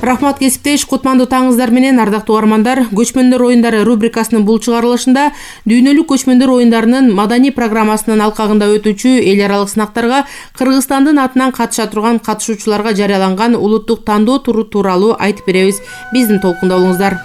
Рахмат кесиптеш, кутмандуу таңыңыздар менен ардактуу угармандар. Көчмөндөр оюндары рубрикасынын бул чыгарылышында дүйнөлүк көчмөндөр оюндарынын маданий программасынын алкагында өтүүчү эл аралык сынактарга Кыргызстандын атынан катыша турган катышуучуларга жарыяланган улуттук тандоо туру тууралуу айтып беребиз. Биздин толкунда болуңуздар.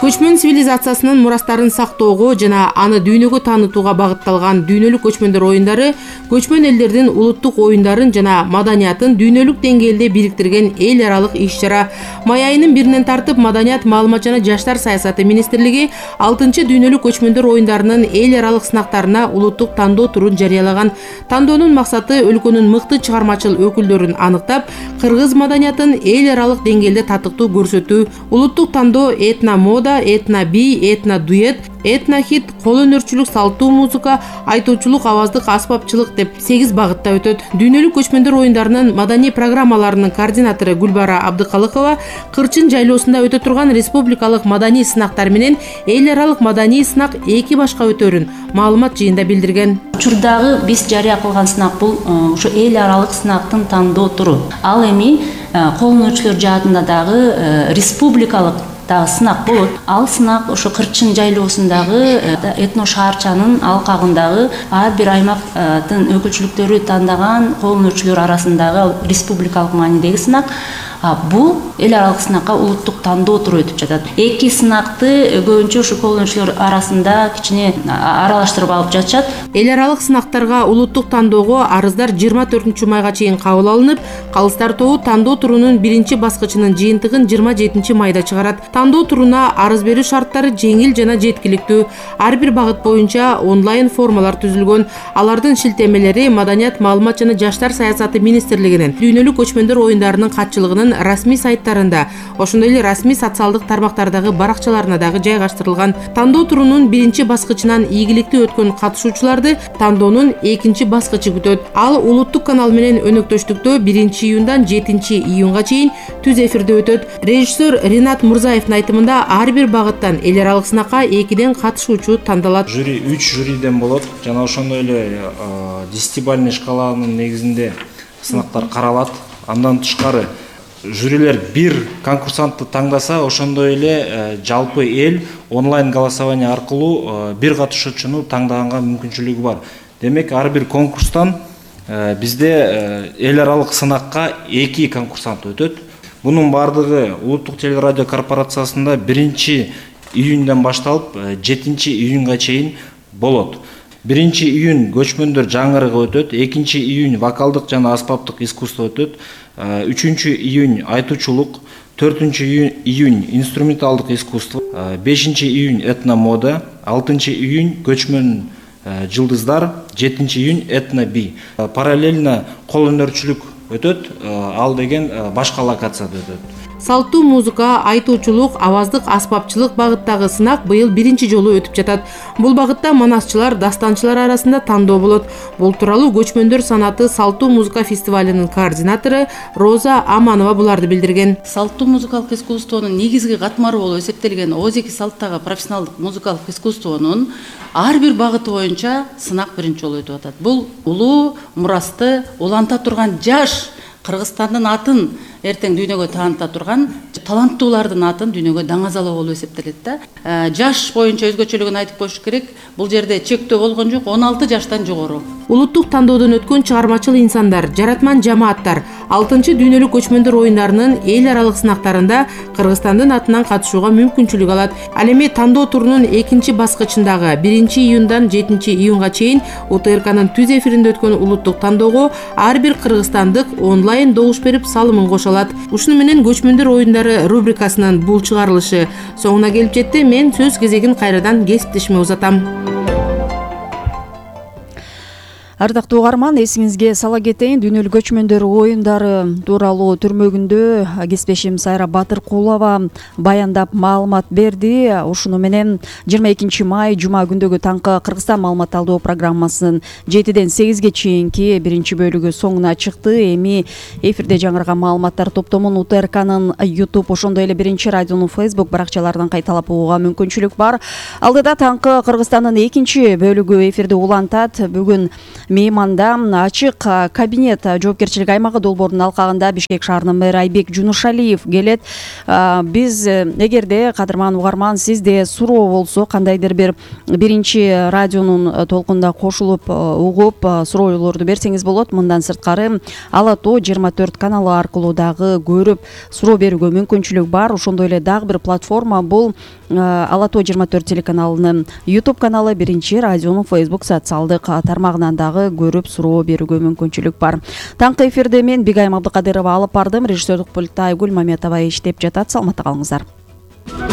Көчмөн цивилизациясынын мурастарын сактоого жана аны дүйнөгө таанытууга багытталган дүйнөлүк көчмөндөр оюндары көчмөн элдердин улуттук оюндарын жана маданиятын дүйнөлүк деңгээлде бириктирген эл аралык иш-чара. Май айынын 1-нен тартып Маданият, маалымат жана жаштар саясаты министрлиги 6-чы дүйнөлүк көчмөндөр оюндарынын эл аралык сынактарына улуттук тандоо турун жарыялаган. Тандоонун максаты өлкөнүн мыкты чыгармачыл өкүлдөрүн аныктап, кыргыз маданиятын эл аралык деңгээлде татыктуу көрсөтүү. Улуттук тандоо этно-мода, этно-би, этно-дуэт, этно-хит, кол өнөрчүлүк, салттуу музыка, айтуучулук, аваздык аспапчылык деп 8 багытта өтөт. Дүйнөлүк көчмөндөр оюндарынын маданий программаларынын координатору Гүлбара Абдыкалыкова Кырчын жайлоосунда өтө турган республикалык маданий сынактар менен эл аралык маданий сынак 2 башка өтөрүн маалымат жыйында билдирген. Учурдагы биз жарыя кылган сынак бул ушу эл аралык сынактын тандоо туру. Ал эми кол өнөрчүлөр жаатында дагы республикалык сынак болот. Ал сынак ошо Кырчын жайлоосундагы этно шаарчанын алкагындагы ар бир аймактын өкүлчүлүктөрү тандаган кол өнөрчүлөр арасындагы республикалык маанидеги сынак. Бул эл аралык сынакка улуттук тандоо туру өтүп жатат. 2 сынакты көбүнчө ушу кол өнөрчүлөр арасында кичине аралаштырып алып жатышат. Эл аралык сынактарга улуттук тандоого арыздар 24-майга чейин кабыл алынып, калыстар тобу тандоо турунун 1-чи баскычынын жыйынтыгын 27-майда чыгарат. Тандоо туруна арыз берүү шарттары жеңил жана жеткиликтүү. Ар бир багыт боюнча онлайн формалар түзүлгөн. Алардын шилтемелери Маданият, маалымат жана жаштар саясаты министрлигинин дүйнөлүк көчмөндөр оюндарынын катчылыгынын расмий сайттарында, ошондой эле расмий социалдык тармактардагы баракчаларына дагы жайгаштырылган. Тандоо турунун 1-чи баскычынан ийгиликтүү өткөн катышуучуларды тандоонун 2-чи баскычы күтөт. Ал улуттук канал менен өнөктөштүктө 1-июндан 7-июнга чейин түз эфирде өтөт. Режиссер Ринат Мурзаевдин айтымында ар бир багыттан эл аралык сынакка 2ден катышуучу тандалат. Жюри 3 жюриден болот. Жана ошондой эле 10-бальный шкаланын негизинде сынактар каралат. Андан тышкары жюрилер бир конкурсантты таңдаса, ошондой эле жалпы эл онлайн голосование аркылуу бир катышуучуну таңдаганга мүмкүнчүлүгү бар. Демек, ар бир конкурстан бизде эл аралык сынакка 2 конкурсант өтөт. Бунун бардыгы улуттук телерадио корпорациясында 1-июндан башталып 7-июнга чейин болот. 1-июнь көчмөндөр жаңырыгы өтөт, 2-июнь вокалдык жана аспаптык искусство өтөт, 3-июнь айтуучулук, 4-июнь инструменталдык искусство, 5-июнь этно-мода, 6-июнь көчмөн жылдыздар, 7-июнь этно-би. Параллельно кол өнөрчүлүк өтөт, ал деген башка локацияда өтөт. Салттуу музыка, айтуучулук, аваздык аспапчылык багыттагы сынак быйыл 1-чи жолу өтүп жатат. Бул багытта манасчылар, дастанчылар арасында тандоо болот. Бул тууралуу Көчмөндөр санаты салттуу музыка фестивалынын координатору Роза Аманова буларды билдирген. Салттуу музыкалык искусствонун негизги катмары болуп эсептелген озеки салттагы профессионалдык музыкалык искусствонун ар бир багыты боюнча сынак 1-чи жолу өтүп атат. Бул улуу мурасты уланта турган жаш Кыргызстандын атын эртең дүйнөгө тааныта турган таланттуулардын атын дүйнөгө даңазалоо болуп эсептелет да. Жаш боюнча өзгөчөлүгүн айтып коюш керек. Бул жерде чектөө болгон жок, 16 жаштан жогору. Улуттук тандоодон өткөн чыгармачыл инсандар, жаратман жамааттар 6-чы дүйнөлүк көчмөндөр оюндарынын эл аралык сынактарында Кыргызстандын атынан катышууга мүмкүнчүлүк алат. Ал эми тандоо турунун 2-чи баскычындагы 1-июндан 7-июнга чейин УТРКнын түз эфиринде өткөн улуттук тандоого ар бир кыргызстандык онлайн добуш берип салымын кошо алат. Ушуну менен көчмөндөр оюндары рубрикасынын бул чыгарылышы соңуна келип жетти. Мен сөз кезегин кайрадан кесиптешиме узатам. Ардактуу угарман, эсиңизге сала кетейин, дүйнөлүк көчмөндөр оюндары тууралуу түрмөгүндө кесиптешим Сайра Батыркулова баяндап маалымат берди. Ушуну менен 22 май жума күндөгү таңкы Кыргызстан маалымат алдоо программасынын 7ден 8ге чейинки 1-чи бөлүгү соңуна чыкты. Эми эфирде жаңырган маалыматтар топтомун УТРКнын YouTube, ошондой эле 1-чи радионун Facebook баракчаларынан кайталап угууга мүмкүнчүлүк бар. Алдыда таңкы Кыргызстандын 2-чи бөлүгү эфирде улантат. Бүгүн мейманда ачык кабинет жоопкерчилик аймагы долбоорунун алкагында Бишкек шаарынын мэрі Айбек Жунушалиев келет. Биз эгерде кадырман угарман сизде суроо болсо, кандайдыр бир биринчи радионун толкунда кошулуп угуп суроолорду берсеңиз болот. Мындан сырткары Ала Тоо 24 каналы аркылуу дагы көрүп суроо берүүгө мүмкүнчүлүк бар. Ошондой эле дагы бир платформа бул Ала Тоо 24 телеканалынын YouTube каналы, биринчи радионун Facebook социалдык тармагынан дагы көрүп суроо берүүгө мүмкүнчүлүк бар. Таңкы эфирде мен Бигайым Абдыкадырова алып бардым. Режиссерлук пультта Айгүл Маметова иштеп жатат. Саламатта калыңыздар.